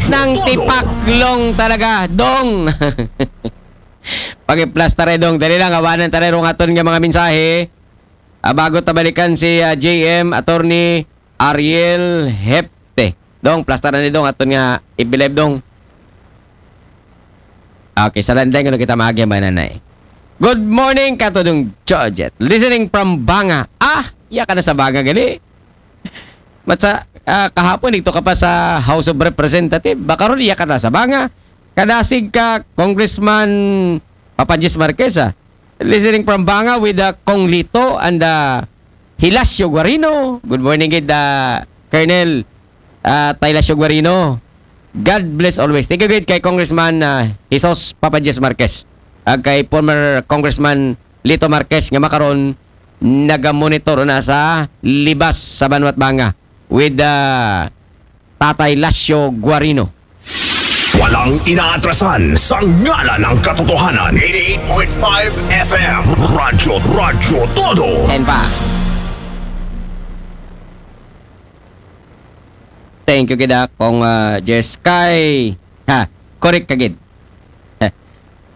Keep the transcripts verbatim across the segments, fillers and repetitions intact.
Nang tipaklong talaga, Dong. Pag-plastar eh, Dong. Dali lang, awanan tayo rong aton nga mga mensahe. Ah, bago tabalikan si ah, J M, Attorney Ariel Hepte. Dong, plastaran ni Dong, aton nga ibilib, Dong. Okay, sa landing, ano kita maagi ang mananay? Good morning, Katudong Georgette. Listening from Banga. Ah, iya ka na sa Banga, gali. Matsa, ah, kahapon, dito ka pa sa House of Representative. Baka ron, iya ka na sa Banga. Kadasig ka, Congressman Papa Jis Marquez, ah. Listening from Banga with uh, Kong Lito and uh, Hilasio Guarino. Good morning, gid, uh, Colonel uh, Taylasio Guarino. God bless always. Thank you, gid, kay Congressman uh, Jesus Papa Jis Marquez. Ag kay former Congressman Lito Marquez nga makaron naga-monitor na sa Libas sa Banwat Banga with uh, Tatay Lasio Guarino. Walang inaatrasan sa ngalan ng katotohanan. eighty-eight point five F M. Radyo, Radyo Todo. Sen pa. Thank you, gid, ah, Kong uh, Jess. Kay, ha, correct ka, gid. Heh.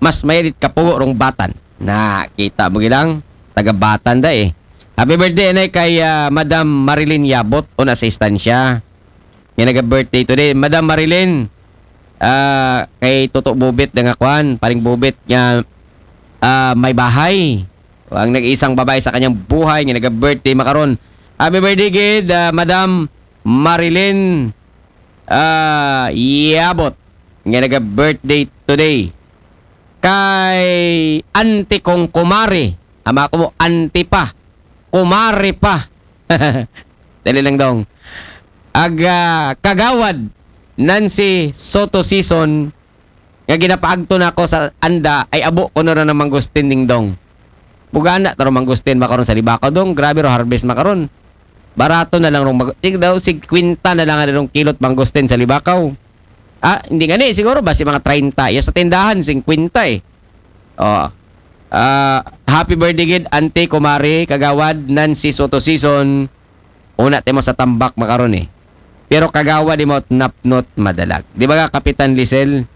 Mas mayadit kapugo rong Batan. Na, kita mo, gid, ang taga Batan da eh. Happy birthday, anay, kay uh, Madam Marilyn Yabot, una sa istansya. Nga naga-birthday today. Madam Marilyn, ah, kay Toto Bubit na nga kwan, paring Bubit nga ah, may bahay. Ang nag-iisang babae sa kanyang buhay nga naga-birthday makaron. Happy birthday, gid, ah, Madam Marilyn ah, Yabot, nga naga-birthday today. Kay auntie kong kumare, ama ko mo, auntie pa, kumare pa. Dali lang, Dong. Ag ah, kagawad Nancy Soto Season nga ginapaagto na ako sa anda ay abo ko na ng mangustin, Dingdong. Bugana taro mangustin makaron sa Libakaw, Dong. Grabe ro harvest makaron. Barato na lang rong mag- sig daw sig kwenta na lang ang rong kilot mangustin sa Libakaw. Ah, hindi nga ni siguro ba si mga treinta. Ya sa tindahan singkwenta eh. Oh. Ah, happy birthday, gid, Auntie, Kumare, Kagawad, Nancy Soto Season. Una timo sa tambak makaron eh. Pero kagawad imo napnot madalag. Di ba nga, Kapitan Lisel?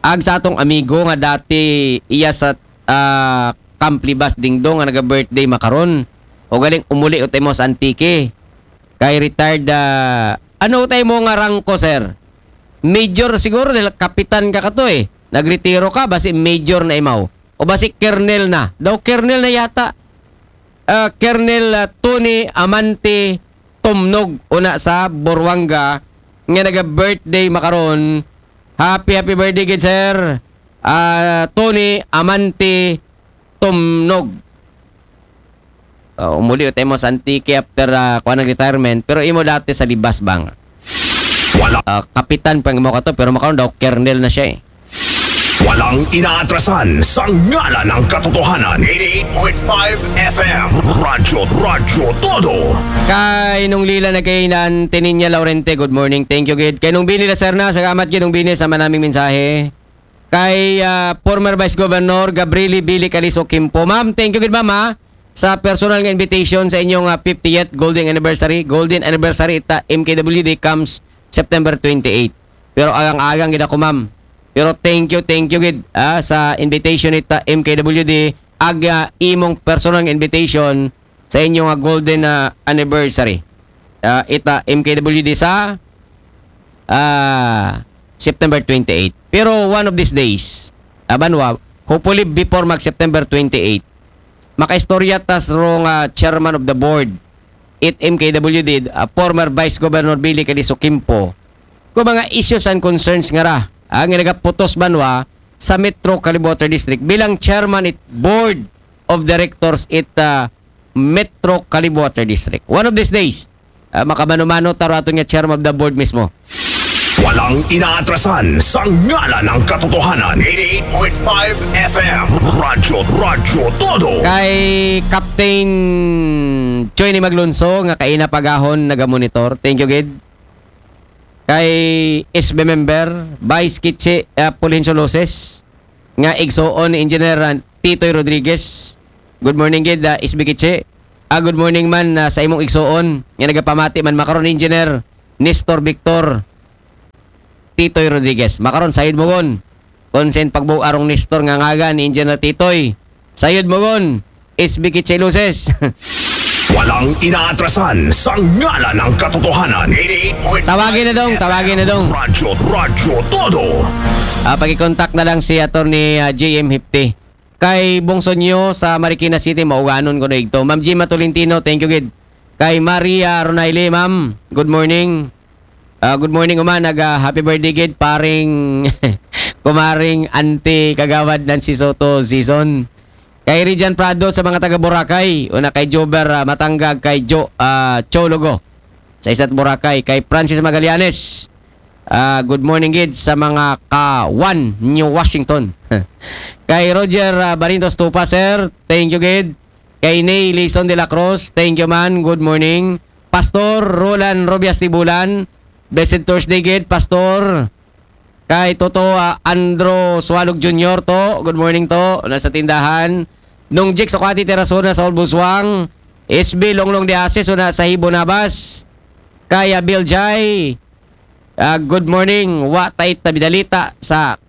Ag sa atong amigo nga dati iya sa ah, Camp Libas, Dingdong, nga naga-birthday makaron. O galing umuli o timo sa Antique. Kay retired, ah, ano tayo mo nga rangko, sir? Major siguro dahil kapitan ka kato eh. Nagretiro ka, basi major na imaw. O basi colonel na. Daw colonel na yata. Ah, Colonel ah, Tony Amante Tumnog, una sa Boruanga, nga naga-birthday makaron. Happy, happy birthday, gid, sir. Ah, Tony Amante Tumnog. Uh, umuli tayo mo sa Antique after uh, kuha ng retirement, pero imo dati sa Libas bang? Wala. Uh, kapitan pa mo kato, pero makaroon daw kernel na siya eh. Walang inaatrasan sa ngalan ng katotohanan. eighty-eight point five F M. Radyo, Radyo Todo. Kay nung lila na kay nan Tininya Laurente, good morning. Thank you, gid. Kay nung bini la Serna, salamat, gid, nung bini sa manaming mensahe. Kay ah, former Vice Governor Gabrieli Billy Calizo Quimpo. Ma'am, thank you, gid, ma'am, ha, sa personal nga invitation sa inyong ah, fiftieth golden anniversary. Golden anniversary ita M K W D comes September twenty-eight. Pero agang-agang gid ako, ma'am. Pero thank you, thank you, gid, ah, sa invitation ita M K W D. Ag ah, imong personal nga invitation sa inyong ah, golden ah, anniversary. Ah, ita M K W D sa ah, September twenty-eight. Pero one of these days, abanwa, hopefully before mag September twenty-eight, makaistorya tas rong ah, chairman of the board it M K W D, ah, former Vice Governor Billy Calizo Quimpo, kung mga issues and concerns nga ra, ah, nga nagaputos banwa sa Metro Calib Water District bilang chairman it board of directors it ah, Metro Calib Water District. One of these days, ah, makamano-mano taro aton nga chairman of the board mismo. Walang inaatrasan sa ngalan ng katotohanan. eighty-eight point five F M. Radyo, Radyo Todo. Kay Captain Joy ni Maglunso nga kaina pagahon nagamonitor. Thank you, gid. Kay S B member, Vice Kichi uh, Fulgencio Loses, nga igsuon ni Engineer uh, Titoy Rodriguez. Good morning, gid, uh, S B Kichi. Ah, good morning man uh, sa imong igsuon nga nagapamati man makaron, Engineer Nestor Victor. Titoy Rodriguez. Makaron, sayod mo gon. Konsen pagbuo arong Nestor nga ngagan ni Engineer Titoy. Sayod mo gon. S B Kitche Luces. Walang inaatrasan sa ngalan ng katotohanan. eighty-eight point nine Tawagin na dong, tawagin na dong. Radyo, Radyo Todo. Ah, pag-contact na lang si Attorney ah, J M Hipti. Kay Bongso Nyo sa Marikina City, mauganon ko na igto. Ma'am Gima Tolentino, thank you gid. Kay Maria Ronaile, ma'am, good morning. Ah, good morning, Uma. Nag ah, happy birthday gid, paring kumaring auntie kagawad Nancy Soto season. Kay Rijan Prado sa mga taga Boracay, una kay Jober ah, Matanggag, kay Jo ah, Chologo sa isa't Boracay, kay Francis Magallanes. Ah, good morning gid sa mga ka One New Washington. Kay Roger ah, Barintos Tupa, sir, thank you gid. Kay Nay Lison de la Cruz, thank you man, good morning. Pastor Roland Robias Tibulan, blessed Thursday gid, Pastor. Kay Toto ah, Andro Sualog Junior to, good morning to, nasa tindahan. Nung Jik Sokati Terasona sa Olbuswang, S B Longlong de Ases, una sa Hibo Nabas. Kay ah, Bill Jai, ah, good morning. Wa ta it tabidalita sa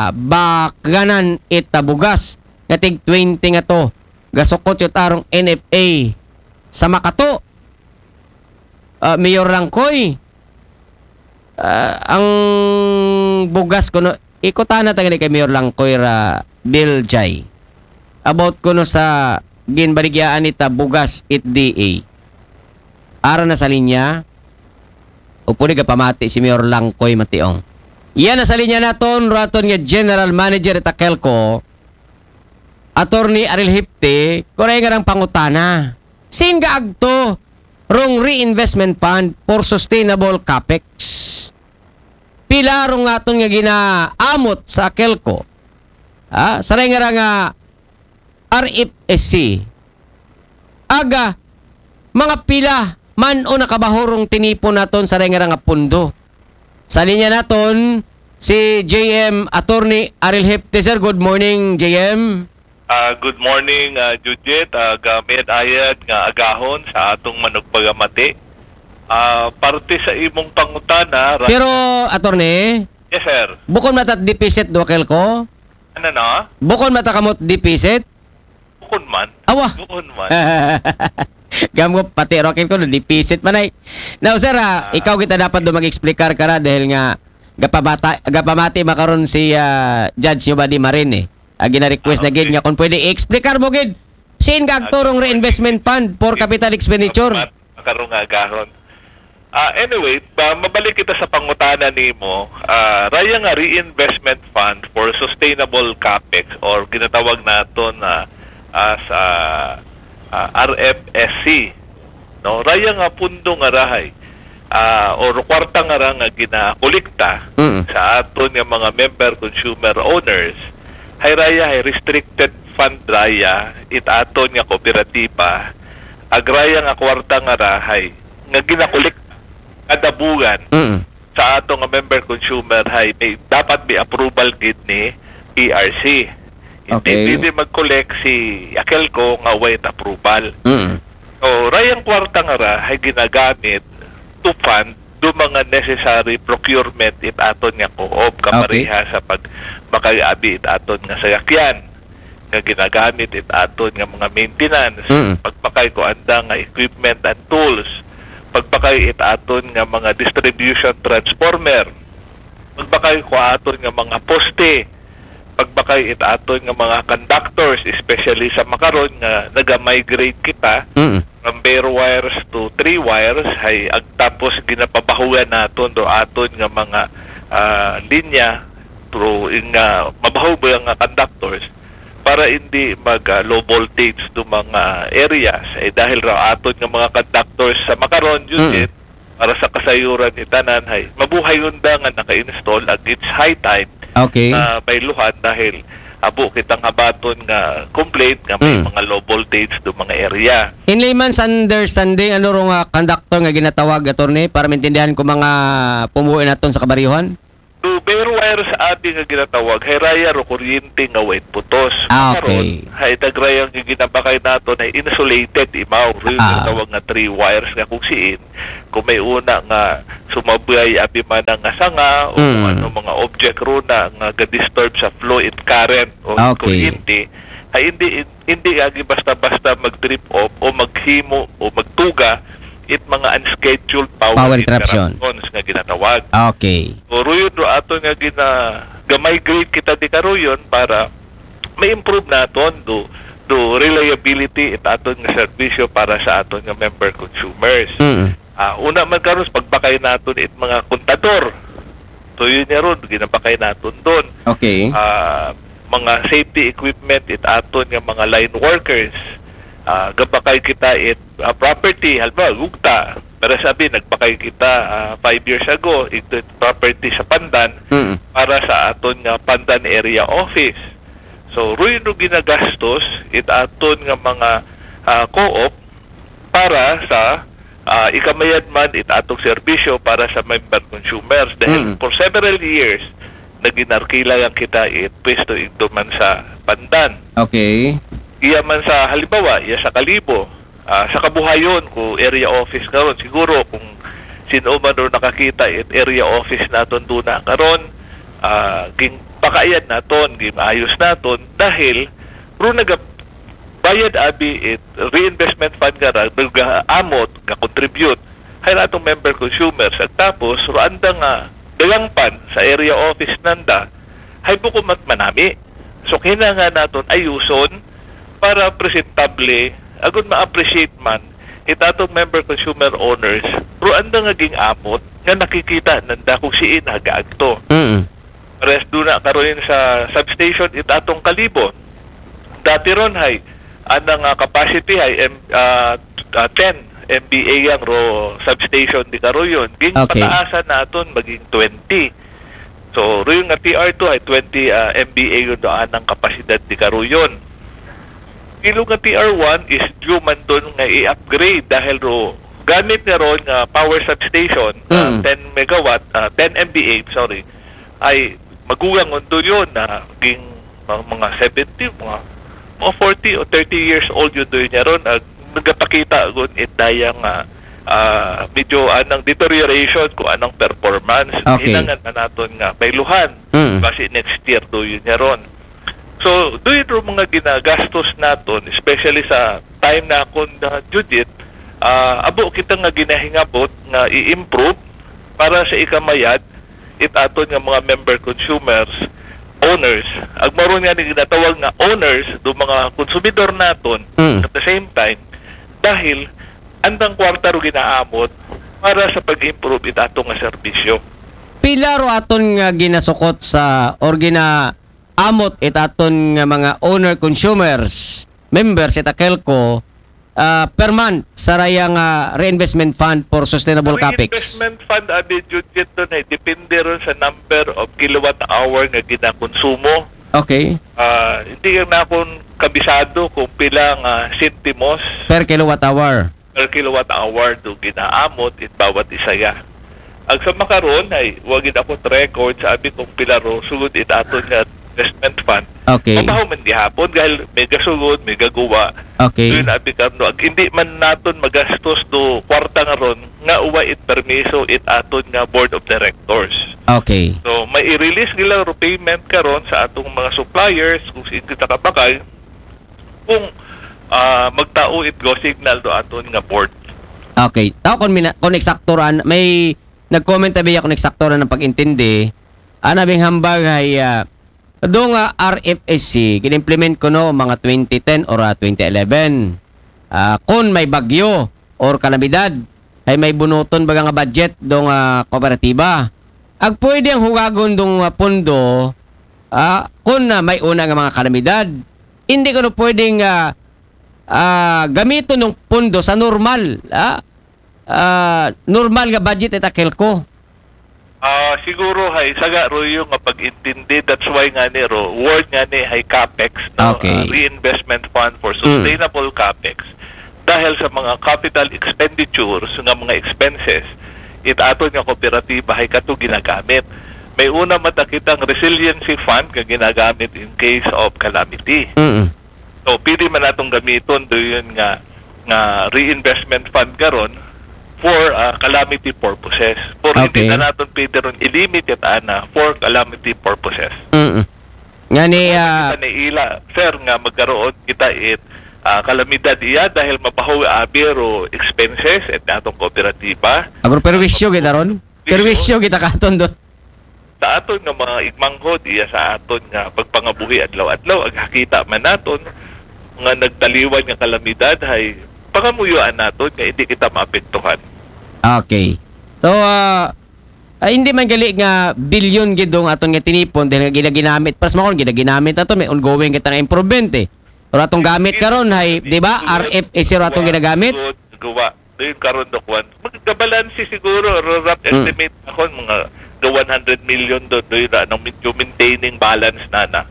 kabakanan it tabugas nga tig twenty nga to. Gasukot yut arong N F A sa Makato. Ah, Mayor Langkoy, ah, ang bugas kuno, ikutana ta gani kay Mayor Langkoy ra Bill Jai. About kuno sa ginbaligyaan nita bugas it D A. Ara na sa linya, o pwede ka pamati si Mayor Langkoy Mationg. Yan na sa linya naton, raton nga General Manager it Akelco, Attorney Aril Hipte, kuray nga rang pangutana. Sin gaagto rong reinvestment fund for sustainable capex? Pila rong aton nga ginaamot sa Akelco? Ah, saray nga ra nga R F S C. Aga, mga pila man o nakabahurong tinipon naton saray nga ra nga pundo. Sa linya naton, si J M Attorney Aril Hepte, sir. Good morning, J M. Ah, good morning, ah, Judith. Ah, gamit ayad nga agahon sa atong manugpagamati. Ah, parte sa imong pangutana, ra- Pero, Attorney, yes, sir. bukon mata deficit do Akelco? Ano na? Bukon mata kamot deficit? Bukon man. Awa. Bukon man. Gam ko pati Rocket ko, deficit man ay. Now, sir, ah, ikaw kita dapat do mag-explicar ka ra dahil nga gapabata, gapamati makaron si ah, Judge Yobadi Marin eh. Ah, gina-request na gid nga kung pwede i-explicar mo gid. Sin gaagto rong reinvestment fund for capital expenditure? Makaron nga agahon. Ah, anyway, ba, mabalik kita sa pangutana nimo. Ah, raya nga reinvestment fund for sustainable capex or ginatawag naton na as ah, ah, R F S C. No, raya nga pundo nga ra hay ah, or kwarta nga ra nga ginakolekta Mm. sa aton nga mga member consumer owners, hay raya hay restricted fund raya it aton nga kooperatiba, ag raya nga kwarta nga ra hay nga ginakolekta kada buwan Mm. sa ato nga member consumer hay may dapat may approval gid ni P R C. Hindi Okay. pwede mag-collect si Akelco nga way approval. Mm. So, rayang kwarta nga ra hay ginagamit to fund do mga necessary procurement it aton nga co-op kapareha sa pag makay-abi it aton nga sayakyan nga ginagamit it aton nga mga maintenance, Mm. pagpakay ko anda nga equipment and tools, pagpakay it aton nga mga distribution transformer, pagpakay ko aton nga mga poste, pagpakay it aton nga mga conductors, especially sa makaron nga naga-migrate kita Mm. from bare wires to three wires, hay ag tapos ginapabahugan naton do aton nga mga ah, linya through in nga mabaho ba nga conductors para hindi mag ah, low voltage do mga areas. Eh, dahil ra aton nga mga conductors sa makaron, Judith, para sa kasayuran ni tanan, hay mabuhay unda nga naka-install ag it's high time Okay. na bayluhan dahil abo kitang habaton nga complaint nga may Mm. mga low voltage do mga area. In layman's understanding, ano rong ah, conductor nga ginatawag, Attorney, para maintindihan ko mga pumuwi naton sa kabaryuhan? Do bare wires abi nga ginatawag, hay raya ro kuryente nga way putos. Ah, Karon, okay. Hay dagrayang nga ginabakay naton hay insulated imaw. Ro yung Ah. ginatawag nga three wires nga kung siin, kung may una nga sumabay abi man nga sanga o kung Mm. ano mga object ro na nga ga-disturb sa flow and current o Okay. kuryente, hay hindi hindi agi basta-basta mag-trip off o maghimo o magtuga it mga unscheduled power, Power interruption. Interruptions nga ginatawag. Okay. So, ro yun do aton nga gina ga-migrate kita di karuyon para ma-improve naton do do reliability it aton nga serbisyo para sa aton nga member consumers. Mm. Ah, una man karon sa pagbakay naton it mga kontador. So yun niya ron, ginabakay naton doon. Okay. Ah, mga safety equipment it aton nga mga line workers. Ah, gabakay kita it ah, property, halimbawa, gugta. Pero sabi, nagbakay kita ah, five years ago, ito it property sa Pandan Mm. para sa aton nga Pandan Area Office. So, ruy no ginagastos it aton nga mga ah, co-op para sa ah, ikamayad man it atong serbisyo para sa member consumers. Dahil Mm. for several years, naginarkila lang kita it pwesto ito man sa Pandan. Okay. Iya man sa halimbawa, iya sa Kalibo, ah, sa Kabuhayon, kung area office karon, siguro kung sino man ro nakakita it area office naton duna karon, ah, ging pakayad naton, ging ayos naton dahil ro naga bayad abi it reinvestment fund nga ra, nagaamot, ga-contribute hay atong member consumers. At tapos, ro anda nga dalangpan sa area office nanda, hay buko mat manami. So, kinahanglan naton ayuson para presentable, agud ma-appreciate man it atong member consumer owners, ro anda nga ging-amot nga nakikita nanda kung siin nagaagto. Mm. Pares duna karon sa substation it atong Kalibo. Dati ron hay, anang ah, capacity hay M, ah, ah, ten M V A yang ro substation di karuyon. Ging Okay. pataasan naton maging twenty. So, ruyon nga T R two hay twenty ah, M V A yun do anang kapasidad di karuyon. Ilo nga T R one is due man doon nga i-upgrade dahil ro gamit nga ron nga power substation, ah, Mm. ten megawatt, ah, ten M V A, sorry, ay magugang undo yun na ging mga, mga seventy, mga, mga forty o thirty years old yun doon niya ron. Ag nagapakita gun it dayang ah, ah, medyo anang deterioration kung anang performance. Okay. Hinangan na naton nga pailuhan. Mm. Basi next year do yun niya ron. So, do yun ro mga ginagastos naton, especially sa time na akon na Judith, ah, abo kita nga ginahingabot nga i-improve para sa ikamayad it aton nga mga member consumers, owners. Ag maron nga ni ginatawag nga owners do mga konsumidor naton Mm. at the same time dahil andang kwarta ro ginaamot para sa pag-improve it aton nga serbisyo. Pila ro aton nga ginasukot sa or ginaamot it aton nga mga owner consumers, members it AKELCO, ah, per month sa raya nga reinvestment fund for sustainable capex? Reinvestment fund, abi, Judith, doon ay depende ron sa number of kilowatt hour nga ginakonsumo. Okay. Ah, hindi na akon kabisado kung pila nga sentimos Per kilowatt hour. per kilowatt hour do ginaamot it bawat isaya. Ag sa makaron ay wagid ako record sa abi kung pila ro sugod it aton nga investment fund. Okay. Mabaho man gihapon dahil may gasugod, may gaguwa. Okay. So yun, abi karno, ag hindi man naton magastos do kwarta nga ron nga uwa it permiso it aton nga board of directors. Okay. So, may i-release nila ro payment karon sa atong mga suppliers kung saan kita kabakay kung ah, magtao it go signal do aton nga board. Okay. Tao kon mina, kon eksakto ran, may nag-comment abi ako kon eksakto ran ang pag-intindi. Ana bing hambag hay ah, do nga R F S C gin-implement kuno mga twenty ten or ah, twenty eleven. Ah, kon may bagyo or kalamidad, hay may bunuton baga nga budget do nga kooperatiba. Ag pwede ang hugagon dong ah, pondo ah, kon ah, may una nga mga kalamidad. Hindi kuno pwedeng ah, ah, gamiton ng pondo sa normal, ah, ah, normal nga budget it AKELCO. Ah, siguro hay saga ro yung nga pag-intindi, that's why nga ni ro word nga ni hay capex, no? Okay. Ah, reinvestment fund for Mm. sustainable capex. Dahil sa mga capital expenditures nga mga expenses it aton nga kooperatiba hay kato ginagamit. May una mata kitang resiliency fund nga ginagamit in case of calamity. Mm. So, pwede man natong gamiton do yun nga nga reinvestment fund karon for uh, calamity purposes. For hindi Okay. na naton pwede ron ilimit it ana for calamity purposes. Mm. Nga ni, ah, Sa niila, sir, nga magkaroon kita it ah, kalamidad iya dahil mabaho abi ro expenses at atong kooperatiba. Agro perwisyo kita ron. Perwisyo kita katon doon. Sa aton nga mga igmanghod, iya sa aton nga pagpangabuhi adlaw-adlaw, ag hakita man naton nga nagtaliwan nga kalamidad, hay pangamuyuan naton nga hindi kita maapektuhan. Okay. So, ah, ah, hindi man gali nga bilyon gid dong aton nga tinipon dahil nga ginaginamit. Pas makon ginaginamit ato, may ongoing kita nga improvement eh. Pero atong gamit karon hay, di ba? R F S ro atong ginagamit. Gawa. Doon karon do kwan. Magkabalansi siguro, ro- rough Hmm. estimate ako, mga ga one hundred million do, do yun na, anong medyo maintaining balance na na,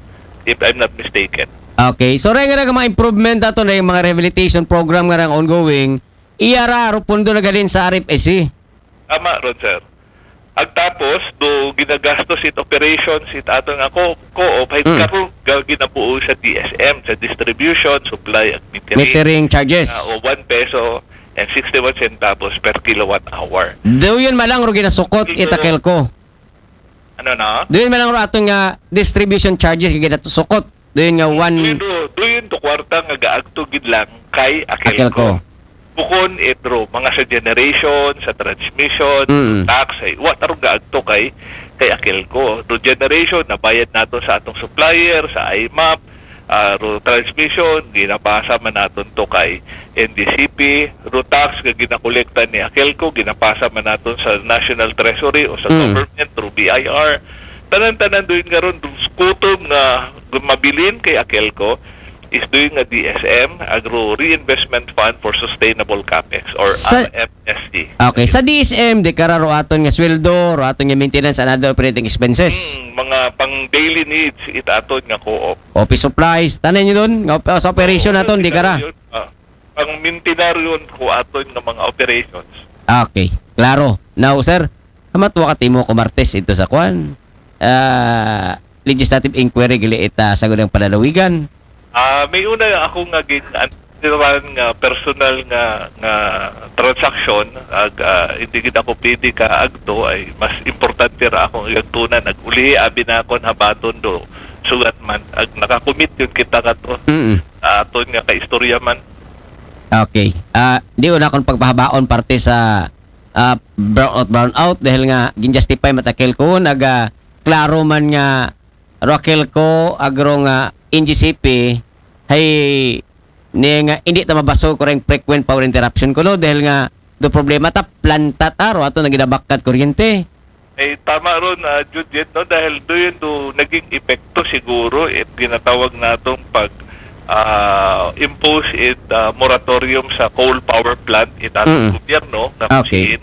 if I'm not mistaken. Okay. So, rin nga mga improvement ato na yung mga rehabilitation program nga rang ongoing, iya ra, ro pundo na galin sa R F S C. Tama ron, sir. Ag tapos, do ginagastos it operations it ato nga co- co-op, hay Mm. karon ga- ginabuo sa D S M, sa distribution, supply, ag metering. Metering charges. Ah, o one peso and sixty-one centavos per kilowatt hour. Do yun malang ro ginasukot Ito itakel ko. Ano na? Do yun malang ro aton nga distribution charges nga ginasukot. Do yun nga one. Duyon do, duyon do kwarta nga gaagto gid lang kay Akelco. Akelco. Bukon itro, mga sa generation, sa transmission, Mm. tax, ay, wa tarong gaagto kay, kay Akelco. Do generation, nabayad nato sa atong supplier, sa I M A P, ah, ro transmission, ginapasa man naton to kay N D C P, ro tax nga ginakolekta ni Akelco, ginapasa man naton sa National Treasury o sa Mm. government through B I R. Tanan-tanan doon nga ron, kutom nga mabilin kay Akelco, is doon nga D S M, Agro Reinvestment Fund for Sustainable Capex, or Sa- R F S C. Okay, sa D S M, di ka ra ro aton nga sweldo, ro aton nga maintenance and other operating expenses. Hmm, mga pang daily needs, it aton nga co-op. Office supplies, tanan nyo doon, nga op- sa operation naton, di ka ra. Yun, ah, pang mintinaryon ko aton nga mga operations. Okay, klaro. Now, sir, hamat wa ka timo ko Martes ito sa kwan. Ah, legislative inquiry gali ita sa gunang panalawigan. Ah, may una ako nga gin-antiran nga personal nga nga transaction, ag ah, hindi gid ako pwede ka agto, ay mas importante ra akong igagtunan, ag ulihi abi na akon habaton do sugat man ag nakakumit yun kita kato Mm. sa aton nga kaistorya man. Okay. Ah, di una akong pagpahabaon parte sa ah, brownout, brownout dahil nga ginjustify matakel ko naga klaro man nga Raquel ko agro nga N G C P hay ni nga hindi ta mabaso ko ring frequent power interruption ko no dahil nga do problema ta planta ta ro ato naginabakat kuryente. Eh, tama ron, ah, Judith, no? Dahil doon do naging epekto siguro it ginatawag natong pag ah, impose it ah, moratorium sa coal power plant it atong Mm. gobyerno nga Okay. Kusiin.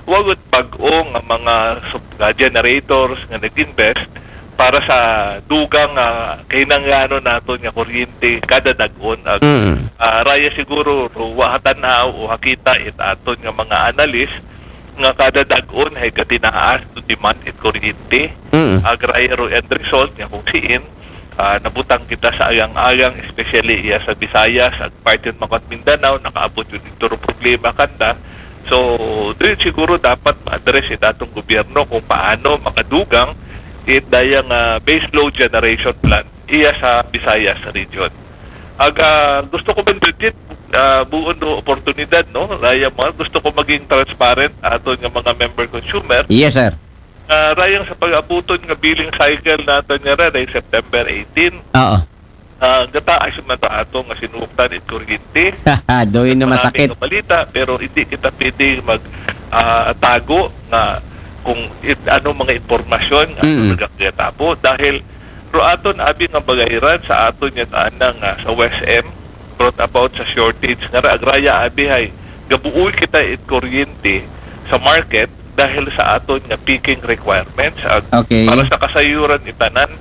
Wagot bag-o nga mga sup- ah, generators nga nag-invest para sa dugang nga kahinanglanon naton nga kuryente kada dag-on ag Mm. ah, raya siguro ro wa hatan-aw o hakita it aton nga mga analyst nga kada dag-on hay gatinaas do demand it kuryente. Mm. Ag raya ro end result nga kung siin ah, nabutang kita sa agang-agang, especially iya sa Visayas, ag parte man ko Mindanao, nakaabot yun ito ro problema kanda. So, doon siguro dapat ma-address it atong gobyerno kung paano makadugang it dayang ah, base load generation plant iya sa Visayas region. Ag ah, gusto ko man, Judith, ah, buon do oportunidad, no? Raya mga gusto ko maging transparent aton nga mga member consumer. Yes, sir. Ah, rayang sa pag-abuton nga billing cycle naton nga ra, day September eighteen. Oo. Ah, gataas man ta ato nga sinuktan it kuryente. Doon na masakit. Maraming balita, pero hindi kita pwede mag ah, tago nga kung it, ano mga impormasyon nga Mm. nagakita po dahil ro aton abi nga bagayran sa aton nga ana nga sa West M brought about sa shortage nga ra, ag raya abi hay gabuoy kita it kuryente sa market dahil sa aton nga peaking requirements ag Okay. para sa kasayuran itanan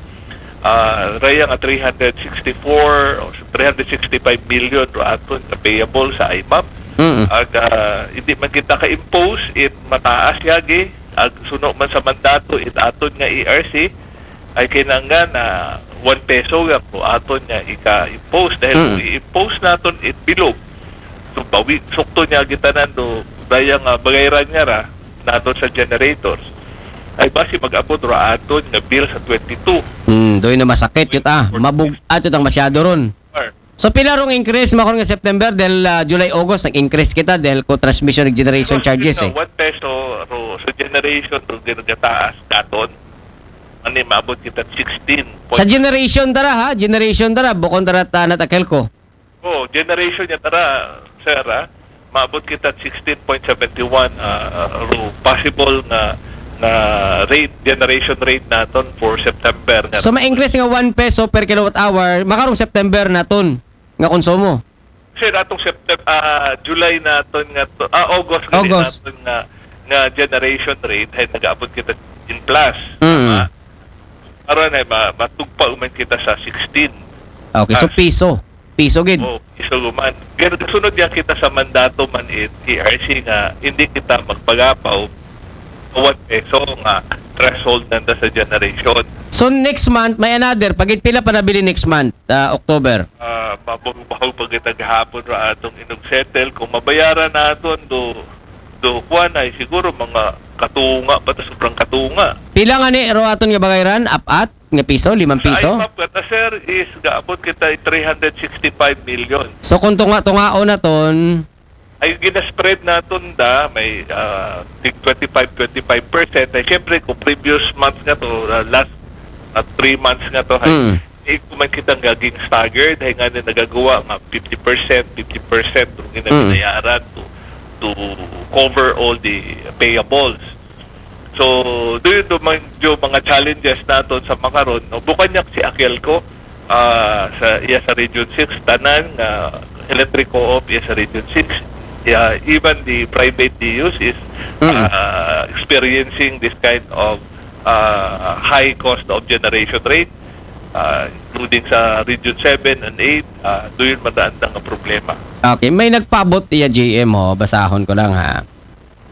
ah, raya nga three hundred sixty-four o three hundred sixty-five million ro aton nga payable sa I M A P. Mm. Ag ah, hindi man kita ka-impose it mataas yagi ag suno man sa mandato it aton nga E R C, ay kinahanglan na one peso nga ko aton nga ika-impose. Dahil kung i-impose naton it bilog, so bawi, sukto niya gitanan do, daya nga bagayran nga ra, naton sa generators, ay basi mag-abot ra aton nga bill sa twenty-two. Hmm, doon na masakit yun ah. Mabug-at yun ang masyado ron. So pila rong increase makaron nga September dahil ah, July, August nag-increase kita dahil ko transmission and generation charges eh. One peso ro sa generation ro ginagataas daton. Ani maabot kita sixteen. Sa generation dara ha, generation dara bukon dara ta natakel ko. Oh, generation niya tara, sir, ha? Maabot kita sixteen point seven one ah, ro possible nga nga rate, generation rate naton for September nga. So ma-increase nga one peso per kilowatt hour makarong September naton nga konsumo. Sir, atong September, ah, July naton nga to, ah, August, gali August. Naton nga nga generation rate ay nag-abot kita in plus. Mm. Aron ay ma- matugpa uman kita sa sixteen. Okay, so Ah. piso. Piso gid. Oh, piso guman. Pero kasunod niya kita sa mandato man it E R C nga hindi kita magpagapaw sa one peso nga threshold nanda sa generation. So next month may another pagit pila pa nabili next month, ah, October. Ah, mabaho-baho pa kita gahapon ra atong inog settle kung mabayaran naton do do kuan ay siguro mga katunga pa ta sobrang katunga. Pila nga ni ro aton nga bagayran? Apat nga piso, limang piso. Ay map kata sir is gaabot kita three hundred sixty-five million. So kung tunga-tungaon naton, Ay ginaspread naton da may ah, tig twenty-five twenty-five percent ay syempre kung previous month nga to ah, last ah, three months nga to ay Mm. eh, kung man kita nga ging staggered ay nga na nagagawa nga fifty percent fifty percent kung Mm. ginabinayaran to to cover all the payables. So, do you do man yung mga challenges naton sa makaron, no? Bukan niya si Akelco ah, sa iya sa Region six tanan nga electric co-op iya sa Region six. Yeah, even the private D Us is Mm. ah, experiencing this kind of ah, high cost of generation rate ah, including sa Region seven and eight ah, do yun mataandang nga problema. Okay, may nagpaabot iya G M ho, basahon ko lang ha.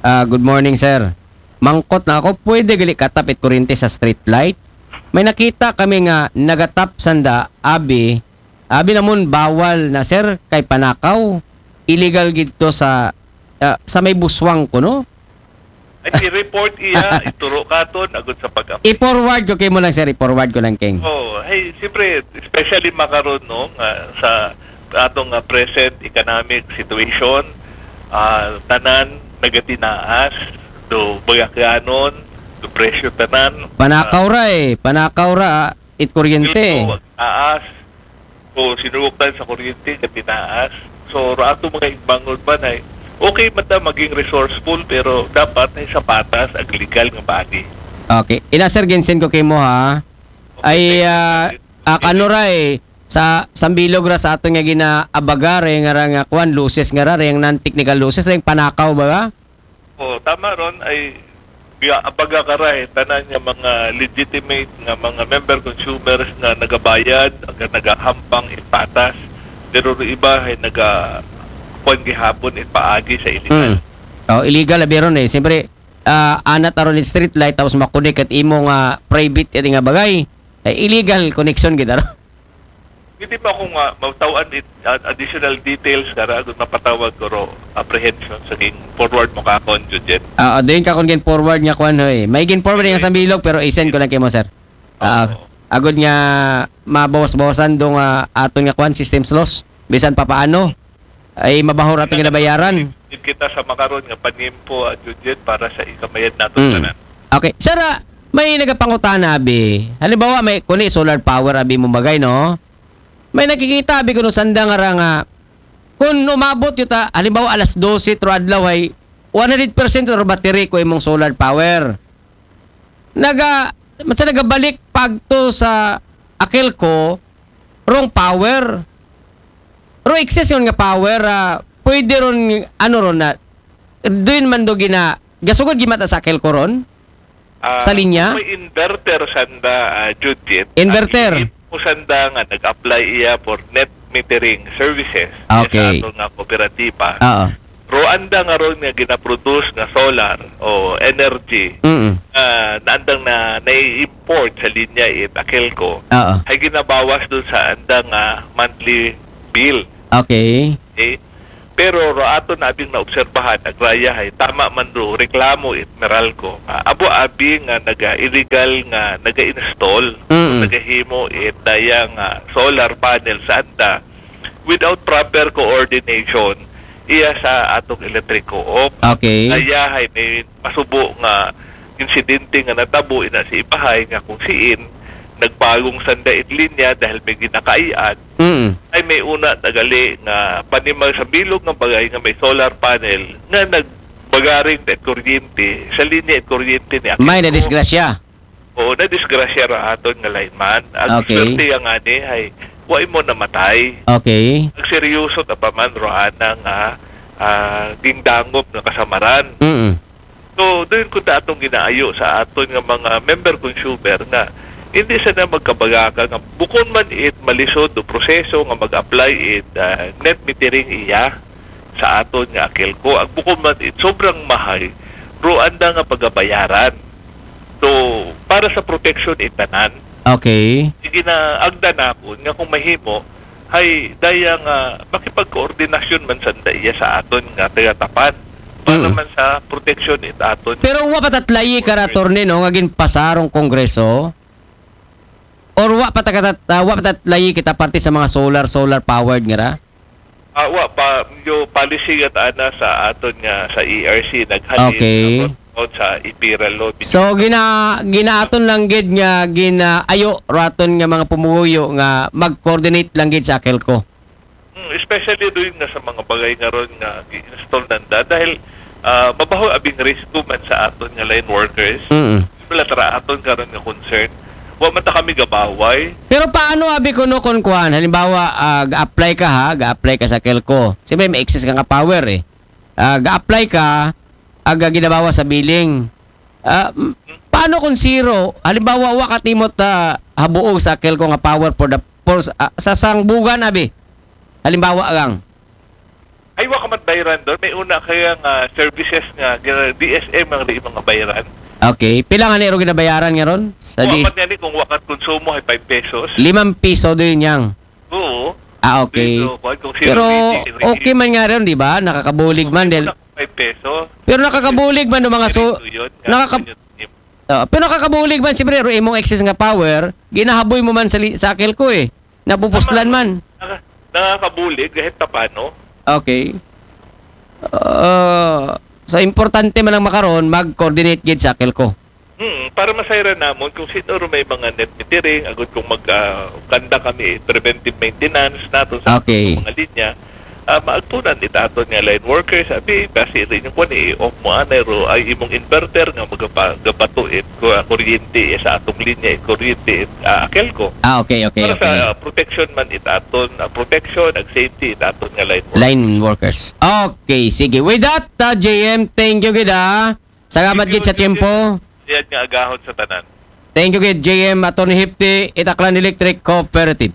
Ah, good morning sir. Mangkot na ako, pwede gali katap it kuryente sa street light? May nakita kami nga nagatap sanda, abi, abi namon bawal na sir kay panakaw. Illegal gid to sa ah, sa may buswang ko no. Ay, i-report iya, ituro katon, agud sa pag I-forward ko kay mo lang sir, i-forward ko lang king. Oh, hey, siyempre, especially makaron no nga sa atong nga present economic situation, ah, tanan nagatinaas, do bagakyanon, do presyo tanan. Panakaw ra eh, panakaw ra ah, it kuryente. Taas. O sinugok tayo sa kuryente, gatinaas. So, ra ato mga igbangon man ay okay man ta maging resourceful pero dapat ay sa patas ag legal nga paagi. Okay. Ina sir, ginsend ko kay mo ha. Ay ah, ah, kano ra eh, sa sambilog ra sa ato nga ginaabaga ray nga ra nga kuan losses nga ra ray ang non-technical losses ray ang panakaw ba? O tama ron ay biya abaga ka ra eh, tanan nga mga legitimate nga mga member consumers nga nagabayad, nga nagahampang ipatas, pero ro iba ay naga kuan gihapon ipaagi sa illegal. Mm. Oh, illegal abi ron eh. Siyempre, ah, anat aron street light tapos makunik at imo nga private iti nga bagay. Eh, illegal connection gid ron. Hindi pa ako nga mataw-an it, ad- additional details kara kung mapatawag ko ro apprehension sa ging forward mo kakon, Judith. Ah, din ka kung gin forward nga kwan hoy. May gin forward nga sambilog pero i-send ko lang kay mo sir. Ah, agud nga mabawas-bawasan do nga aton nga kwan systems loss. Bisan pa paano ay mabaho ra aton ginabayaran. Need kita sa makaron nga panimpo, ah, Judith, para sa ikamayad naton Mm. tanan. Okay, sir, ah, may nagapangutana abi. Halimbawa may kuni solar power abi mo bagay no. May nakikita abi kuno sanda nga ra nga kung umabot yuta halimbawa alas dose tro adlaw ay one hundred percent or battery ko imong solar power. Naga sa nagabalik pagto sa Akelco rong power. Ro excess yun nga power ah, pwede ron ano ron na doon man do gina gasugod gimata sa Akelco ron. Ah, Sa linya? May inverter sanda, ah, Judith. Inverter. Ang isip mo sanda nga nag-apply iya for net metering services Okay. Sa ato nga kooperatiba. Oo. Pero anda nga ron nga ginaproduce nga solar o energy, Mm. ah, na andang na nai-import sa linya it Akelco, Oo. ay ginabawas doon sa andang, ah, monthly bill. Okay. Okay? Pero ro aton abing naobserbahan, agraya hay tama man ro reklamo it Meralco. Ah, abo abi nga naga-illegal nga naga-install, Mm. nagahimo it daya nga solar panel sa anda without proper coordination iya sa atong electric co-op. Okay. Daya hay may masubo nga insidente nga natabo ina sa ibahay nga kung siin nagpagong sanda it linya dahil may ginakaian, Mm. ay may una nagali nga panimal sa bilog nga bagay nga may solar panel nga nagbagaring it kuryente sa linya it kuryente ni Akelco. May nadisgrasya. Oo, nadisgrasya ra aton nga lineman. Ang Okay. swerte yang ani ay wa mo namatay. Okay. Ang seryoso ta pa man ro ana nga ah, gingdangop nga kasamaran. Mm. So, doon ko ta atong ginaayo sa aton nga mga member consumer nga hindi sa na magkabagaka nga bukon man it malisod o proseso nga mag-apply it ah, net metering iya sa aton nga Akelco. Ang bukon man it sobrang mahay, ro anda nga pagabayaran. So, para sa protection it tanan, Okay. sige na agda nakon nga kung mahimo, hay daya nga makipagkoordinasyon man sanda iya sa aton nga taga-Tapan para Mm. man sa protection it aton. Pero wa pa tatlayi ka ra, attorney, no, nga ginpasa rong Kongreso? Or wa pa ta katat-, ah, wa pa tatlayi kita parte sa mga solar, solar powered nga ra? Ah, wa pa, yung policy nga ana sa aton nga sa E R C naghalin Okay. about sa Imperial Law. So gina ginaaton lang gid nga ginaayo raton nga mga pumuyo nga mag-coordinate lang gid sa Akelco. Hmm, especially doon nga sa mga bagay nga ron nga gi-install nanda dahil ah, mabaho abing risko man sa aton nga line workers. Mm. Wala tara aton karon nga concern. Wa man ta kami gabaway. Pero paano abi kuno kon kuan, halimbawa ah, ga-apply ka ha, ga-apply ka sa Akelco. Siyempre may excess ka nga power eh. Ah, ga-apply ka, aga ginabawas sa billing. Ah, m- paano kung zero? Halimbawa wa ka timot ah, habuog sa Akelco nga power for the for, ah, sa sangbugan abi. Halimbawa lang. Ay, wa ka magbayran doon. May una kaya nga services nga gina- D S M ang ri mga bayran. Okay. Pila nga niro ginabayaran nga ron? Sa Wa dis- man gani kung wa ka konsumo ay five pesos. Limang piso din yang. Oo. Ah, okay. So, kuwan, kung zero Pero rating, okay man nga ron, di ba? Nakakabulig man. Del- Five pesos. Pero nakakabulig man ng mga so... Yun, nakaka- yun, yun. Ah, pero nakakabulig man, siyempre, ro imong excess nga power, ginahaboy mo man sa, li- sa Akelco eh. Napupuslan man. Naka- nakakabulig kahit tapano. Okay. Uh, so, importante man ang makaron, mag-coordinate gid sa Akelco. Hmm, para masayran namon kung sino ro may mga net metering, agud kung mag ah, kanda kami preventive maintenance nato sa Okay. mga linya, ah, maagtunan it aton nga line workers, abi, kasi rin yung kwan, i-off mo anay ro, ay imong inverter nga magapa, gapato it, ku- ah, kuryente eh, sa atong linya, it kuryente it, ah, Akelco. Ah, okay, okay, Para okay. sa ah, protection man it aton, ah, protection, ag safety it aton nga line workers. Line workers. Okay, sige. With that, uh, J M, thank you gid ah. Salamat gid sa tiyempo. Yan nga agahon sa tanan. Thank you gid, J M, Attorney Hipti, Itaklan Electric Cooperative.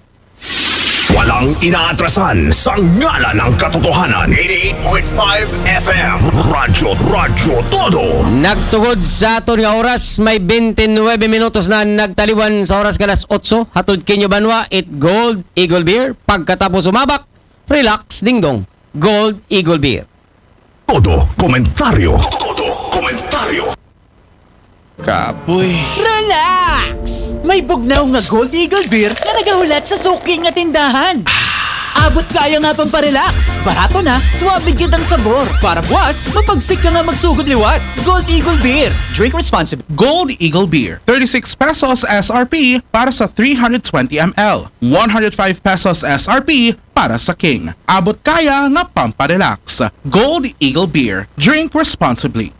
Walang inaatrasan sa ngalan ng katotohanan. Eighty-eight point five F M. Radyo, Radyo Todo. Nagtugod sa aton nga oras, may twenty-nine minutos na nagtaliwan sa oras ka alas otso. Hatod kinyo banwa, it Gold Eagle Beer. Pagkatapos umabak, relax, dingdong. Gold Eagle Beer. Todo komentaryo. Todo komentaryo. Kapoy. Relax! May bugnaw nga Gold Eagle Beer nga nagahulat sa suki nga tindahan. Abot kaya nga pamparelax. Barato na, swabe gid ang sabor. Para buwas, mapagsik ka nga magsugod liwat. Gold Eagle Beer. Drink responsibly. Gold Eagle Beer, thirty-six pesos S R P para sa three hundred twenty M L, one hundred five pesos S R P para sa King. Abot kaya nga pamparelax. Gold Eagle Beer. Drink responsibly.